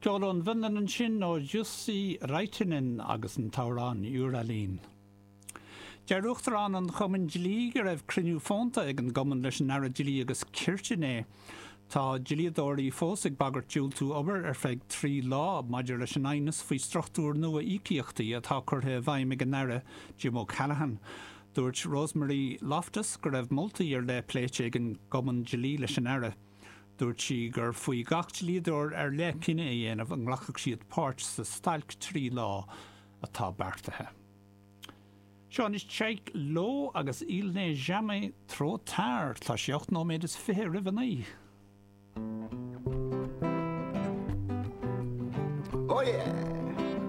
Ceol ón bhFionlainn ansin ó Jussi Raitanen agus an t-amhrán Juralin. Deir Uachtarán an Chumainn Dlí go raibh cruinniú fónta ag an gcumann leis an Aire Dlí agus Cirt inné. Tá dlíodóirí fós ag bagairt diúltú obair ar feadh 3 lá maidir leis an aighneas faoi struchtúr nua íocaíochtaí atá curtha i bhfeidhm ag an Aire Jim O'Callaghan. Dúirt Rosemary Loftus go raibh moltaí ar leith pléite ag an gCumann Dlí leis an Aire. Dúirt sí gur faoi gach dlíodóir ar leith cinneadh a dhéanamh an nglacfadh siad páirt sa stailc 3 lá atá beartaithe. Seo anois Tove Lo agus Il n'est jamais trop tard. Tá sé 8 nóiméad is 20 roimh a 9.